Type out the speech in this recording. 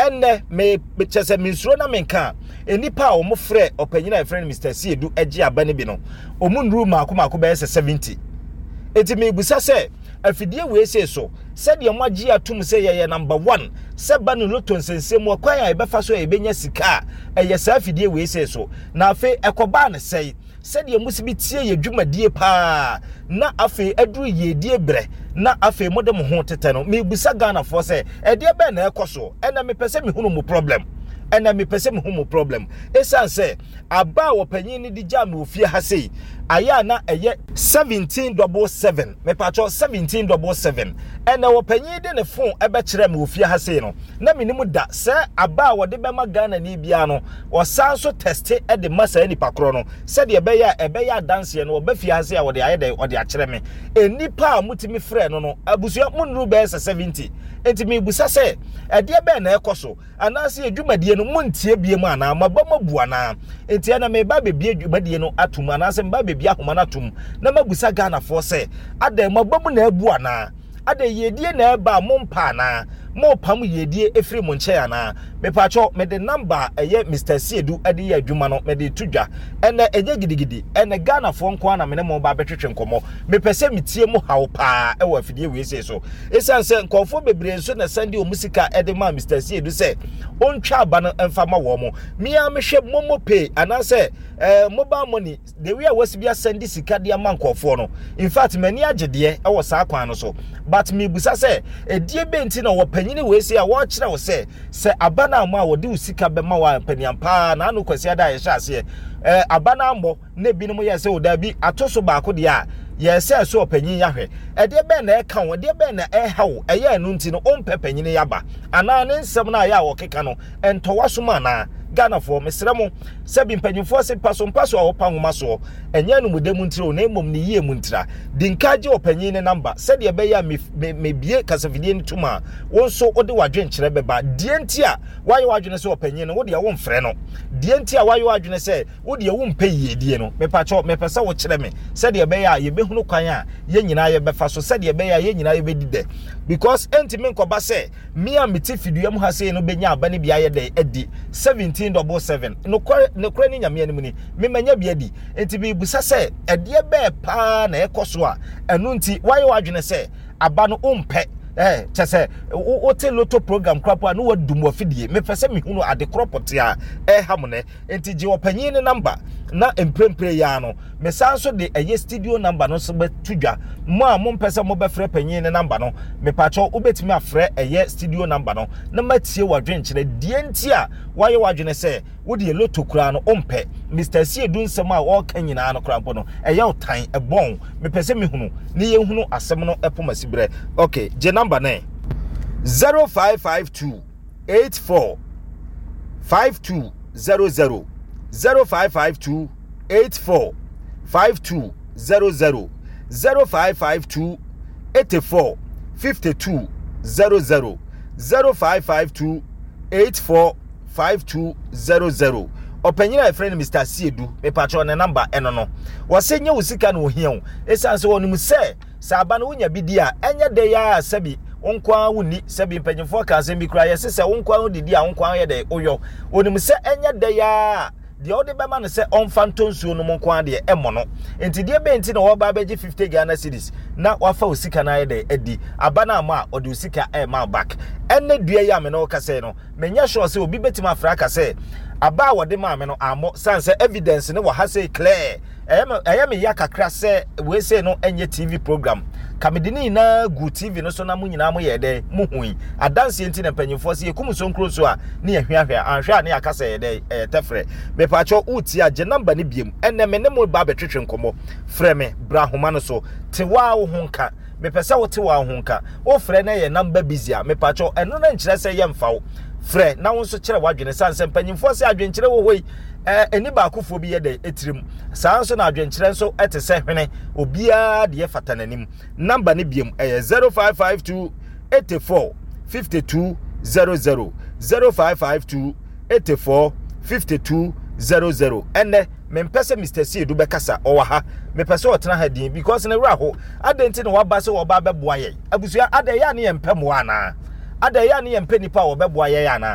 Ɛnnɛ me kyɛ sɛ mensuro na menka a, nnipa a wɔn frɛ ɔpanyin a yɛfrɛ no Mr. Siedu gye aba no bi no, wɔn nnuru mmaako mmaako bɛyɛ sɛ 70. Enti mebusa sɛ, afidie wei sei so, sɛdeɛ moagye atom sɛ yɛyɛ number one, sɛ ba no loto nsɛnsɛm mu, ɛkwan a yɛbɛfa so a yɛbɛnya sika a, ɛyɛ saa afidie wei sei so. Na afei ɛkɔbaa no sɛe, sɛdeɛ mosi bi tie yɛ dwumadie paa, na afei aduru yiedie berɛ, na afei mode mo ho tetɛ no. Mebusa Ghanafoɔ sɛ, ɛdeɛ bɛn na ɛkɔ soɔ? Ɛnɛ mepɛ sɛ mehunu mo problem. Ɛnɛ mepɛ sɛ mehu mo problem. Ɛsiane sɛ aba a ɔpanyin no de gyaa me wɔ fie ha sei, ayɛ a na ɛyɛ 17 double 7, mepatwɔ, 17 double 7. Ɛnɛ ɔpanyin de ne phone ɛbɛkyerɛ me wɔ fie ha sei no, na menim da sɛ aba a wɔde bɛma Ghana ni biara no, ɔsan so test de ma saa nipa korɔ no, sɛdeɛ ɛbɛyɛ a ɛbɛyɛ adanseɛ no, ɔbɛ fie ha sei a, wɔde ayɛ dɛ ɔde akyerɛ me. Nnipa a motumi frɛ no, abusua mo nnuru bɛyɛ sɛ 70. Nti mebusa sɛ, ɛdeɛ bɛn na ɛkɔ so? Anaasɛ dwumadie no montie bie mu anaa maba mabu anaa? Nti ɛna meba bɛbie dwumadie no atom, anaasɛ meba bɛbie ahoma no atom, na mabusa Ghanafoɔ sɛ, adɛn, maba mu na abu anaa? Adɛn, yiedie na ɛba a mompa anaa? Mopam yiedie ɛfiri mo nkyɛn anaa? Mepaakyɛw, mede number a ɛyɛ Mr. Siedu de yɛ adwuma no mede to dwa. Ɛnɛ ɛnyɛ gidigidi, ɛnɛ Ghanafoɔ nko ara na mene mo ba bɛtwetwe nkɔmmɔ. Mepɛ sɛ metie mo haw paa ɛwɔ afidie wei sei so, ɛsiane sɛ nkurɔfoɔ bebree nso na ɛsan de wɔn sika de maa Mr. Siedu sɛ ɔntwa aba no mfa ma wɔn mo. Mea mehwɛ MoMo Pay anaasɛ mobile money, the way a wɔasi bi asɛn de sika de ama nkurɔfoɔ no, in fact, m'ani agye deɛ ɛwɔ saa kwan no so, but mebusa sɛ, ɛdie bɛ nti na wɔpanyini wei sei a wɔrekyerɛ wo sɛ aba no ammɔ a, wɔde wo sika bɛma wo a, mpaniam paa na ano Kwasi Ada a yɛhyɛ aseɛ aba no ammɔ na ebinom yɛ sɛ o daabi, ato so baako deɛ a yɛsɛ so ɔpanyin yahwɛ. Ɛdeɛ bɛn na ɛka wo? Ɛdeɛ bɛn na ɛha wo? Ɛyɛ ɛno nti no ɔmpɛ panyin yaba anaa ne nsɛm no a ɛyɛ a wɔkeka no ɛntɔwa so mu anaa? Ghanafoɔ, mesrɛ mo, sɛbi mpanyinfoɔ se mpa so mpa so a wɔpa nwoma soɔ, ɛnyɛ anumude mu ntira o, na mmom ne yie mu ntira. Di nka gye ɔpanyin ne number, sɛdeɛ ɛbɛyɛ a mebie kasafidie no tum a, wo nso wode w'adwenkyerɛ bɛba. Deɛ nti a woayɛ w'adwene sɛ ɔpanyin no, wodeɛ womfrɛ no, deɛ nti a woayɛ w'adwene sɛ wodeɛ wompɛ yiedie no, mepakyɛw, mepɛ sɛ wokyerɛ me, sɛdeɛ ɛbɛyɛ a yɛbɛhunu kwan a yɛn nyinaa yɛbɛfa so, sɛdeɛ ɛbɛyɛ a yɛn nyinaa yɛbɛdi dɛ, because ɛntumi nkɔba sɛ me a mete fidua mu ha sei no bɛnya aba no bi ayɛ dɛ adi 17 double 7. Nokorɛ nokorɛ ne Nyame anim ni, memanya bi adi. Nti mebusa sɛ, ɛdeɛ bɛɛ paa na ɛkɔ so a ɛno nti woayɛ w'adwene sɛ aba no wompɛ? Kyɛ sɛ wote lotto program koraa a ne wadum wafidie. Mepɛ sɛ mehunu ade korɔ pɔte a ɛha mo nɛ. Nti gye ɔpanyin ne number na mprempren ya no, mesan nso de ɛyɛ studio number no nso bɛto dwa. Mo a mompɛ sɛ mobɛfrɛ panyin ne number no, mepakyɛw, wobɛtumi afrɛ ɛyɛ studio number no na matie w'adwenkyerɛ, deɛ nti a woayɛ w'adwene sɛ wodeɛ lotto koraa no wompɛ. Mr. Siedu nsɛm a wɔreka nyinaa no koraa mpo no, ɛyɛ wo tan ɛbɔn. Mepɛ sɛ mehunu ne yɛhunu asɛm no ɛpom asiberɛ. Okay, gye number no, 0552 84 5200, 0552 84 5200, 0552 84 52 00, 0552 84 5200. Ɔpanyin a yɛfrɛ no Mr. Siedu, mepakyɛw, ne number ɛno no. Wɔsɛ nyɛ wo sika na ohia wo, ɛsiane sɛ wɔnim sɛ aba no wonya bi di a, ɛnyɛ dɛ yɛ a sɛbi wo nko ara wonni. Sɛbi mpanyinfoɔ ka asɛm bi koraa, yɛse sɛ wo nko ara wodidi a, wo nko ara yɛ dɛ woyɔ. Onim sɛ ɛnyɛ dɛ yɛ a deɛ wode bɛma no sɛ ɔmfa ntɔ nsuo no mu nko ara deɛ ɛmmɔ no. Nti deɛ bɛn nti na wɔba abɛgye 50 Ghana cedis na wafa wo sika no ayɛ dɛ adi aba no ama a ɔde wo sika ɛma back? Ɛnɛ dua yi a me ne wo kasa yi no, menyɛ sure sɛ obi bɛtumi afrɛ aka sɛ aba a wɔde maa me no ammɔ, san sɛ evidence ne wɔ ha sɛ clear. Ɛyɛ me ya kakra sɛ wei sei no ɛnyɛ TV program, ka mede ne nyinaa gu TV no so na mo nyinaa moyɛ dɛ mohui adanseɛ. Nti na mpanyimfoɔ sɛ yɛkum nsonkuro so a ne yɛhweahwɛ anhwɛ a ne yɛaka sɛ ɛyɛ dɛ ɛyɛ tɛfrɛ. Mepaakyɛw, wotie a, gye number no biom. Ɛnɛ me ne mo ba bɛtwetwe nkɔmmɔ. Frɛ me bra ahoma no so, te waa wo ho nka. Mepɛ sɛ wote waa wo ho nka. Wofrɛ na ɛyɛ number busy a, mepaakyɛw, ɛno no nkyerɛ sɛ yɛmfa wo. Frɛ na wo nso kyerɛ w'adwene, sane sɛ mpanyimfoɔ sɛ adwenkyerɛ wɔ hɔ yi, ɛni baakofoɔ bi yɛ dɛ etirim saa nso na adwenkyerɛ nso ɛte sɛ hwene, obiara deɛ fata n'anim. Number no biom ɛyɛ 0552 84 52 00, 0552 84 52 00. Ɛnɛ mempɛ sɛ Mr. Siedu bɛkasa, ɔwɔ ha. Mepɛ sɛ ɔtena ha din because ne werɛ ho. Adɛn nti na waba sɛ wɔba bɛboa yɛn? Abusua, adɛn yɛ a ne yɛmpɛ mmoa anaa? Adɛn yɛ a ne yɛmpɛ nipa a wɔbɛboa yɛn anaa?